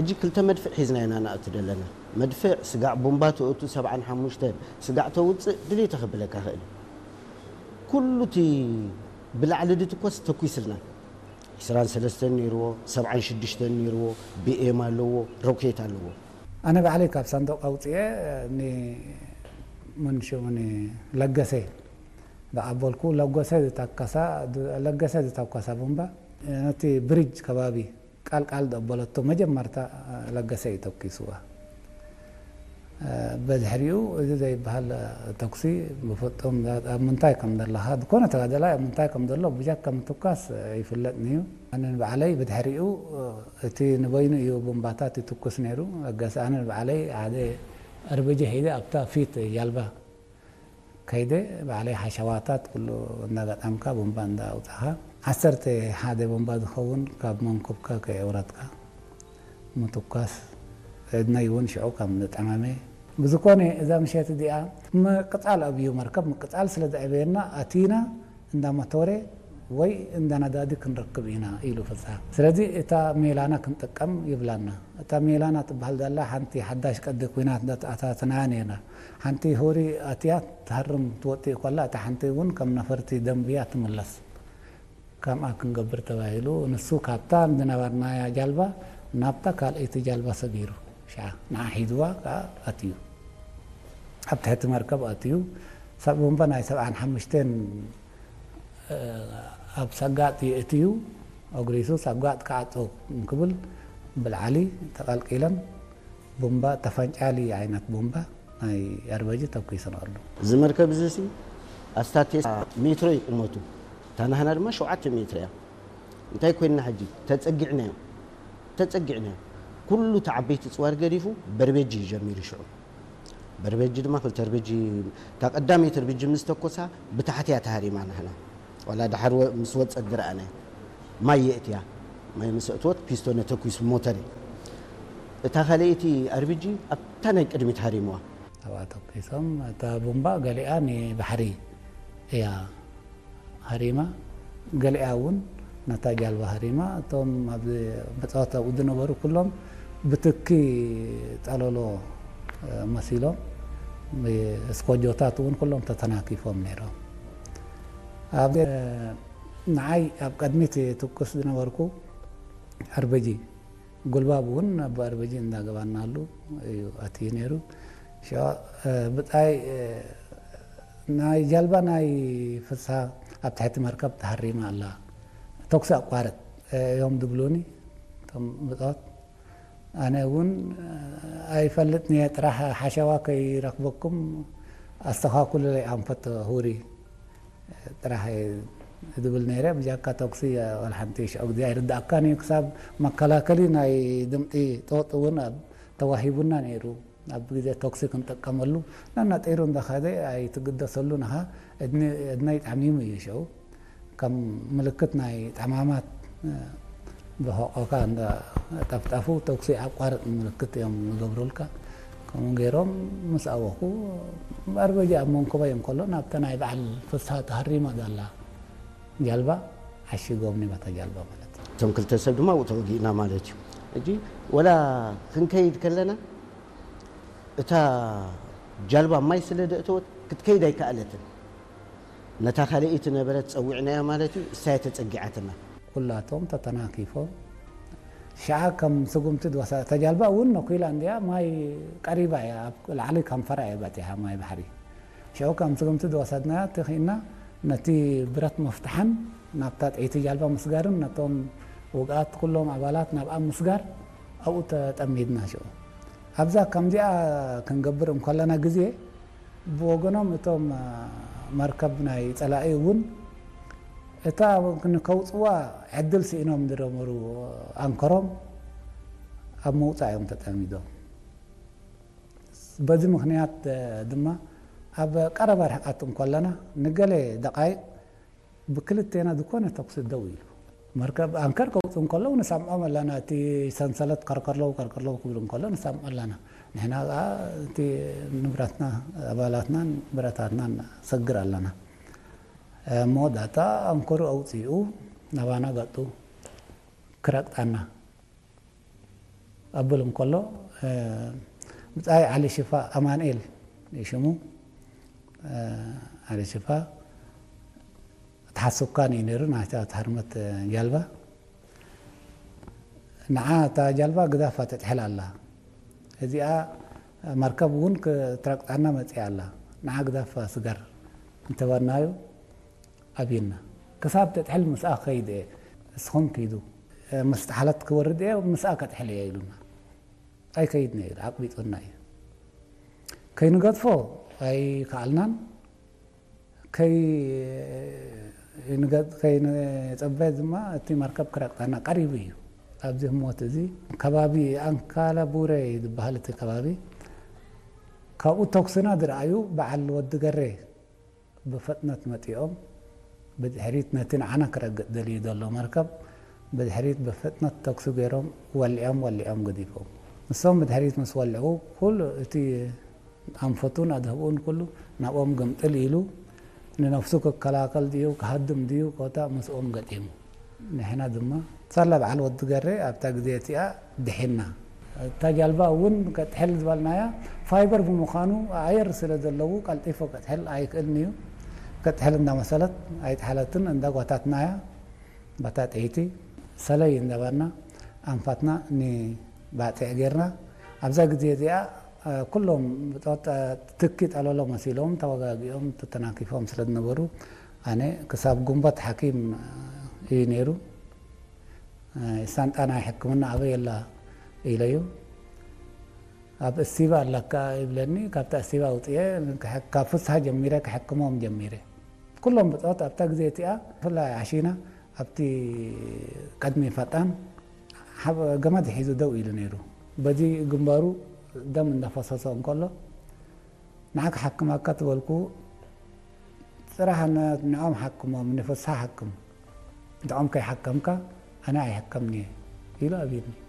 ሕጂ ክልተ መድፍዕ ሒዝና ኢና ንኣቱ ዘለና። መድፍዕ ስጋዕ ቡምባ ተእቱ ሰብዓን ሓሙሽተን ስጋዕ ተውፅእ ድሌተ ክብለካ ክእል። ኩሉ እቲ ብላዕሊ ድትኮስ ተኩስልና። ዕስራን ሰለስተን ነይርዎ፣ ሰብዓን ሽዱሽተን ነይርዎ፣ ቢኤም ኣለዎ፣ ሮኬት ኣለዎ። ኣነ ባዕለይ ካብ ሳንዱቕ ኣውፅኤ ንመንሽኡ ለገሰ ዝኣበልኩ። ለገሰ ዝተኮሳ ቡምባ ነቲ ብሪጅ ከባቢ ቃል ቃል ዘበለቶ መጀመርታ ለገሰ እዩ ተኩስዋ። በድሕሪኡ እዚ ዘይበሃል ተኩሲ ብፍጹም ኣብ ምንታይ ከም ዘለኻ፣ ዝኾነ ተጋዳላይ ኣብ ምንታይ ከም ዘሎ ብጃካ ምትኳስ ይፍለጥኒ እዩ። ኣነ ንባዕለይ ብድሕሪኡ እቲ ንበይኑ እዩ ቡምባታት ይትኩስ ነይሩ። ለገሰ ኣነ ንባዕለይ ሓደ ኣርበጂ ሒዘ ኣብታ ፊት ጃልባ ከይደ ባዕለይ ሓሸዋታት ኩሉ እንዳገጣምካ ቡምባ እንዳኣውፃኻ ዓሰርተ ሓደ ቡምባ ዝኸውን ካብ መንኩብካ ከየውረድካ ምትኳስ። ዕድመይ እውን ሽዑ ከም ዝጠመመ። ብዝኮነ እዛ ምሸት እዚኣ ምቅፃል ኣብዩ መርከብ ምቅፃል ስለ ዘዕበየና ኣቲና እንዳ መቶረ ወይ እንዳ ነዳዲ ክንረክብ ኢና ኢሉ ፍሳ። ስለዚ እታ ሜላና ክንጥቀም ይብላና። እታ ሜላና ትበሃል ዘላ ሓንቲ ሓዳሽ ቀዲ ኩናት እንዳተኣታተናያ ነርና። ሓንቲ ሁሪ ኣትያ ትሃርም ትወጥእ ከላ እታ ሓንቲ እውን ከም ነፈርቲ ደንብያ ትምለስ። ከምኣ ክንገብር ተባሂሉ ንሱ ካብታ ዝነበርናያ ጃልባ ናብታ ካልኣይቲ ጃልባ ሰጊሩ ሽዓ ንዓ ሒዝዋ ከዓ ኣትዩ። ኣብ ትሕቲ መርከብ ኣትዩ ሰብ ቡምባ ናይ ሰብዓን ሓሙሽተን ኣብ ሰጋጥ የእትዩ ኣጉሪሱ ሰጋጥ ክዓጾ እንክብል ብልዓሊ ተቐልቂለን ቡምባ ተፈንጫሊ ዓይነት ቡምባ ናይ ኣርበጂ ተኩስንኣሉ። እዚ መርከብ እዚ ሲ ኣስታት ሜትሮ እዩ ቁመቱ፣ እታ ናህና ድማ ሸውዓተ ሜትሮ እያ። እንታይ ኮይንና ሕጂ ተጸጊዕናዮ፣ ተጸጊዕናዮ ኩሉ እቲ ዓበይቲ ጽዋር ገዲፉ በርበጂ እዩ ጀሚሩ ሽዑ። በርበጂ ድማ ክልተ ርብጂ፣ እታ ቀዳመይቲ ርብጂ ምስ ተኮሳ ብታሕቲ እያ ተሃሪማ ናህና። ዋላ ድሓር ወ- ምስ ወጸት ዝረኣናዮ ማይ የእትያ። ማይ ምስ ኣእትወት ፒስቶነ ተኩሱ ሞተር እዩ። እታ ካልኣይቲ ኣርቢጂ ኣብታ ናይ ቅድሚት ሃሪምዋ። ኣብኣ ተኩሶም እታ ቡምባ ገሊኣ ንባሕሪ እያ ሃሪማ፣ ገሊኣ እውን ነታ ጃልባ ሃሪማ። እቶም ኣብ መጻወቲ ኣብኡ ዝነበሩ ኩሎም ብትኪ ጠለሎ መሲሎም፣ እስኮጆታት እውን ኩሎም ተተናኪፎም ነይሮም። ኣብ ንዓይ ኣብ ቅድሚት ትኩስ ዝነበርኩ ኣርበጂ ጉልባብ እውን ኣቦ ኣርበጂ እንዳገባናሉ እዩ ኣትዩ ነይሩ። ሽዑ ብጻይ ናይ ጃልባ ናይ ፍስሃ ኣብ ትሕቲ መርከብ ተሃሪማ ኣላ፣ ተኩሲ ኣቋርጥ እዮም ዝብሉኒ እቶም ብጾት። ኣነ እውን ኣይፈልጥን እየ፣ ጥራሕ ሓሸዋ ከይረኽበኩም ኣስተኻክሉለይ ኣንፈት ሁሪ ጥራሕ እየ ዝብል ነይረ። ብጃካ ተኩሲ ዋላ ሓንቲ ሽዑ ግዜ ኣይርድኣካን እዩ፣ ክሳብ መከላከሊ ናይ ድምፂ ጦጥ እውን ኣብ ተዋሂቡና ነይሩ። ኣብ ግዜ ተኩሲ ክንጥቀመሉ ናናጢሩ እንዳኸደ ኣይትግደሰሉ፣ ንኻ እድኒ- እድነይ ጠሚሙ እዩ ሽዑ። ከም ምልክት ናይ ጠማማት ብሕቆካ እንዳ ጠፍጠፉ ተኩሲ ኣቋርጥ ምልክት እዮም ዝገብሩልካ። ከምኡ ገይሮም ምስ ኣወኹ ኣርበጂ ኣብ መንኮበይ እንከሎ ናብታ ናይ በዓል ፍስሃ ተሃሪማ ዘላ ጃልባ ዓሺጎምኒ በታ ጃልባ ማለት እዩ። እቶም ክልተ ሰብ ድማ ኣብኡ ተወጊእና ማለት እዩ። ሕጂ ወላ ክንከይድ ከለና እታ ጃልባ ማይ ስለ ዘእተወት ክትከይድ ኣይከኣለትን። ነታ ካልኣይቲ ነበረት ጸዊዕናያ ማለት እዩ፣ እሳ እያ ተጸጊዓትና። ኩላቶም ተተናኪፎም ሽዓ ከም ስጉምቲ ዝወሰ-፣ እታ ጃልባ እውን ነኩላ እንድያ፣ ማይ ቀሪባ እያ፣ ኣብ ላዕሊ ከንፈራ እያ በጺሓ ማይ ባሕሪ። ሽዑ ከም ስጉምቲ ዝወሰድናያ ተኺእና ነቲ ብረት ምፍታሕን ናብታ ጥይቲ ጃልባ ምስጋርን ነቶም ውግኣት ኩሎም ኣባላት ናብኣ ምስጋር ኣብኡ ተጠሚድና ሽዑ። ኣብዛ ከምዚኣ ክንገብር እንከለና ግዜ ብወገኖም እቶም መርከብ ናይ ጸላኢ እውን እታ ንከውጽዋ ዕድል ስኢኖም ዝነበሩ ኣንከሮም ኣብ ምውጻእ እዮም ተጠሚዶም። በዚ ምኽንያት ድማ ኣብ ቀረባ ርሕቀት እንከለና ንገለ ደቓይቕ ብክልቴና ዝኾነ ተኩሲ ደው ኢሉ። መርከብ ኣንከር ከውጽኡ እንከለዉ ንሰምዖም ኣለና። እቲ ሰንሰለት ከርከለው ከርከለው ክብሉ እንከሎ ንሰምዖ ኣለና። ንሕና ከኣ እቲ ንብረትና፣ ኣባላትናን ብረታትናን ንሰግር ኣለና። መወዳእታ ኣንከሩ ኣውጺኡ ናባና ገጡ ክረግጣና። ኣብብል እንከሎ ብፃይ ዓሊ ሽፋ ኣማንኤል ሽሙ። ዓሊ ሽፋ ተሓስብካን እዩ ነይሩ ናታ ትሃርመት ጃልባ። ንዓ እታ ጃልባ ግዳፋ ተጥሕል ኣላ። እዚኣ መርከብ እውን ክትረግጣና መፅያ ኣላ። ንዓ ግዳፋ ስገር እንተበልናዩ ኣብዩና። ክሳብ ተጥሕል ምስኣ ክኸይድ እየ። እስኹም ኪዱ፣ ምስ ጠሓለት ክወርድ እየ፣ ምስኣ ከጥሕል እየ ኢሉና። ኣይከይድን እዩ፣ ኣቕቢጡና እዩ። ከይንገድፎ ኣይከኣልናን። ከይንፀበ ድማ እቲ መርከብ ክረግጣና ቀሪቡ እዩ። ኣብዚ ህሞት እዚ ከባቢ ኣንካላ ቡረ እዩ ዝበሃል እቲ ከባቢ። ካብኡ ተኩስና ዝረኣዩ በዓል ወዲ ገሬ ብፍጥነት መፂኦም ብድሕሪት ነቲ ንዓና ክረግጥ ደልዩ ዘሎ መርከብ ብድሕሪት ብፍጥነት ተኩሲ ገይሮም ወሊዖም ወሊዖም ገዲፎም። ንሶም ብድሕሪት ምስ ወልዑ ኩሉ እቲ ኣንፈቱን ኣድህብኡን ኩሉ ናብኦም ግምጥል ኢሉ ንነፍሱ ክከላከል ድዩ ክሃድም ድዩ ኮታ ምስኦም ገጢሙ። ንሕና ድማ ሳላ በዓል ወዲ ገሬ ኣብታ ግዜ እቲኣ ድሒና። እታ ጃልባ እውን ከጥሕል ዝበልናያ ፋይበር ብምዃኑ ኣየር ስለ ዘለዉ ቀልጢፎ ከጥሕል ኣይክእልን እዩ። ከጥሕል እንዳመሰለት ኣይጥሓለትን እንዳጓታትናያ በታ ጥይቲ ሰለይ እንዳባና ኣንፋትና ንባፅዕ ጌርና። ኣብዛ ግዜ እዚኣ ኩሎም ትኪ ጠለሎ መሲሎም ተወጋጊኦም ተተናኪፎም ስለ ዝነበሩ ኣነ ክሳብ ጉንበት ሓኪም እዩ ነይሩ። ሳንጣ ናይ ሕክምና ኣበይ ኣላ ኢለዩ። ኣብ እስቲባ ኣለካ ይብለኒ። ካብታ እስቲባ ኣውፅኤ ካብ ፍስሃ ጀሚረ ክሕክሞም ጀሚረ። ኩሎም ብፆት ኣብታ ግዜ እቲኣ ብፍላይ ዓሺና ኣብቲ ቀድሚ ፈጣን ገመድ ሒዙ ደው ኢሉ ነይሩ። በዚ ግንባሩ ደም እንዳፈሰሶ እንከሎ ንዓ ክሓክመካ ትበልኩ፣ ጽራሕ ንዕኦም ሓክሞም፣ ንፍስሃ ሓክም፣ ንዕኦም ከይሓከምካ ኣነ ኣይሕከምንየ ኢሉ ኣብዩኒ።